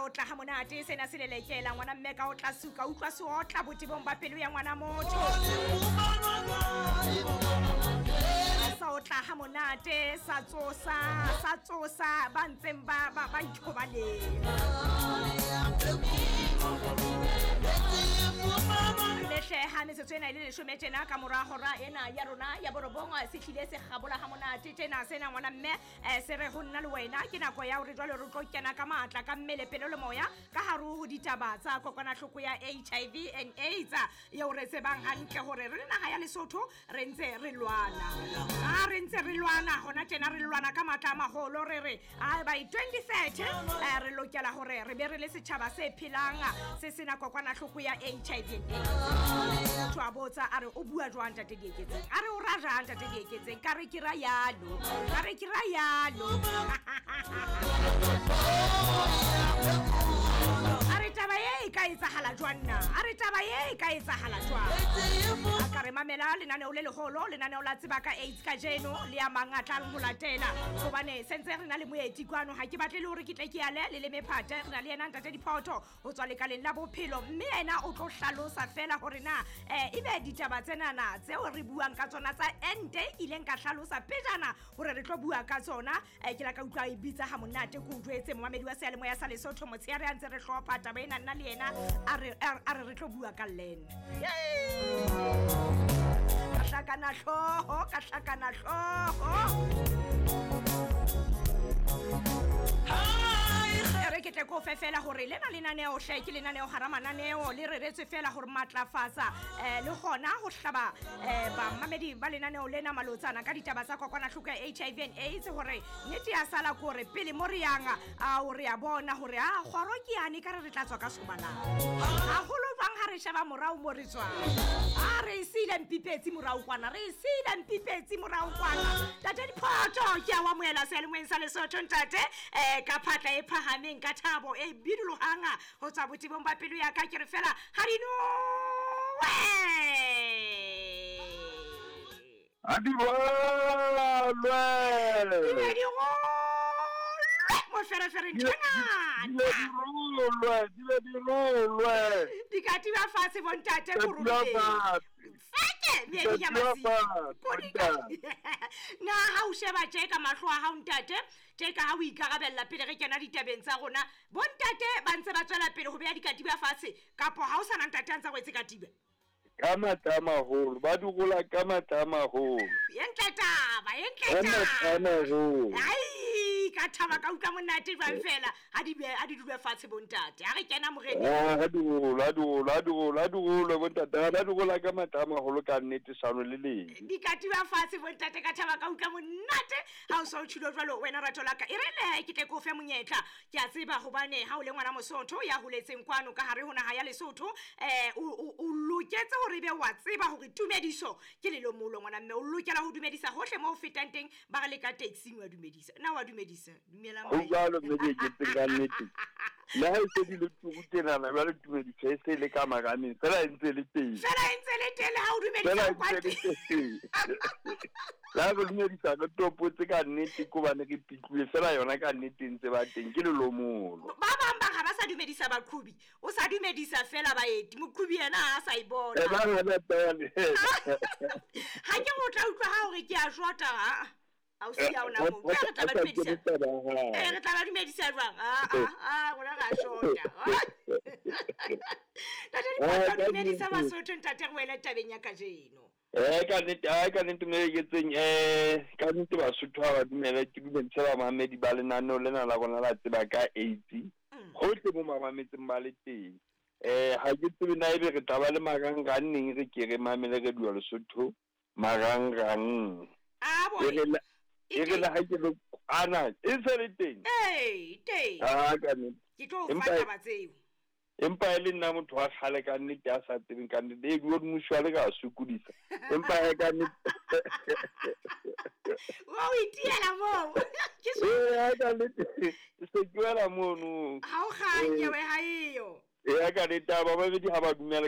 Sa otla ha monate sena se lelekela ngwana mme ka o tla suka utlwa se otla botebong ba pelo ya ngwana motho. Sa otla ha monate sa tsosa ba ntseng ba ithobaleng. Lehle ha metsotso ena e le leshome tjena ka mora hora ena ya rona ya borobong se hlile se kgabola ha monate tjena sena ngwana mme se re ho nna le wena ke nako ya hore jwale re tlo kena ka matla ka mmele pelo le moya ka hare ho ditaba tsa kokwanahloko ya HIV and AIDS eo re tsebang hantle hore re le naha ya Lesotho re ntse re lwana. A re ntse re lwana hona tjena re lwana ka matla a maholo re re by 2030 re lokela hore re be re le setjhaba se phelang se sena kokwanahloko ya HIV and AIDS. Motho a botsa a re o bua jwang ntate Dieketseng, a re o ra jang ntate Dieketseng, ka re ke ra yalo, ka re ke ra yalo. A re taba e ka etsahala jwang na? A re taba e ka etsahala jwang? A ka re mamela lenaneo le leholo, lenaneo la tseba ka AIDS kajeno le ya mang a tlang ho latela hobane sentse re na le moeti kwano. Ha ke batle le hore ke tle ke yale le le mephate, re na le yena ntate Diphotho ho tswa lekaleng la bophelo mme yena o tlo hlalosa fela hore na ebe ditaba tsenana tseo re buang ka tsona tsa ente ileng ka hlalosa pejana hore re tlo bua ka tsona. Ke la ka utlwa e bitsa ha monate ko utlwetse momamedi wa seyalemoya sa Lesotho motshehare a ntse re hlopha taba ena nna le yena a re re tlo bua ka lena. Ka hlakana hlooho, ka hlakana hlooho. Re ke tle ko fe fela hore lena lenaneo hle ke lenaneo hara mananeo le reretswe fela hore matlafatsa le hona ho hlaba bamamedi ba lenaneo lena malotsana ka ditaba tsa kokwanahloko ya HIV and AIDS hore nnete ya sala ko re pele mo re yang a o re a bona hore a kgoro ke yane ka re re tla tswa ka sobalang haholo jwang ha re sheba morao mo re tswang. A re sile mpipetsi morao kwana, re sile mpipetsi morao kwana. Ntate Diphotho ke a o amohela seyalemoyeng sa Lesotho ntate ka phatla e phahameng ka thabo e bidulohang ho tswa botebong ba pelo ya ka ke re fela ha di nowe ha di rolwe di be di rolwe moferefere ntho e ngata di be di rolwe di ka tiba fatshe bontate koroleng feke meedi ya masimo na ha o sheba tje ka mahlo a hao ntate tje ka ha o ikarabella pele re kena ditabeng tsa rona bontate ba ntse ba tswela pele ho beha dikatiba fatshe kapo ha o sana ntate a ntse a wetse katiba ka matla a maholo ba di rola ka matla a maholo. E ntle taba, e ntle taba. Ai ka thaba ka utlwa monate jwang fela ha di dule fatshe bontate ha re kena moreneng. Ha di rola, ha di rola bontate, ha di rola ka matla a maholo ka nnete sano le leng. Dikatiba fatshe bontate ka thaba ka utlwa monate ha o so tshilo jwalo wena rato la ka. E re le ke tle ke o fe monyetla ke a tseba hobane ha o le ngwana Mosotho ya holetseng kwano ka hare ho naha ya Lesotho o loketse hore be wa tseba hore tumediso ke lelomolo ngwana mme o lokela ho dumedisa hohle mo ho fetang teng ba re le ka taxi wa dumedisa na wa dumedisa dumela mo jalo mme ke tseng ka nnete le ha e se di le turu tsenana jwale tumediso e se le ka marameng fela e ntse le teng fela e ntse le teng le ha o dumedisa kwa teng la re dumedisa re topotse ka nnete ko bane re pitluwe fela yona ka nnete ntse ba teng ke lelomolo. Ba bang ba ga ba sa dumedisa baqhubi o sa dumedisa fela baeti moqhubi yena ha sa e bona ha ke go tla utlwa ha hore ke a shota ha a o sia ona mo re tla ba dumedisa re tla ba dumedisa jwang a rona ra shota. Ntate Diphotho dumedisa Basotho ntate re wele tabeng ya kajeno. Ka nnete mme ke tseng ka nnete Basotho ha ba dumela ke dumedisa bamamedi ba lenaneo lena la rona la tseba ka AIDS hohle mo mamametseng ba le teng. Ha ke tsebe na ebe re tla ba le marangrang neng re ke re mamele re dua Lesotho marangrang. A bo e re la ha ke lo ana e se le teng. Ee teng. Ah ka nnete. Ke tlo fa taba tseo. Empa e le nna motho wa kgale ka nnete a sa tsebeng ka nnete e bua mmuso wa le ka sokodisa empa e ka nnete wa o itiela moo ke ka nnete se ke wela mono ha o kganye we ha eyo e ka nnete ba babedi ha ba dumela.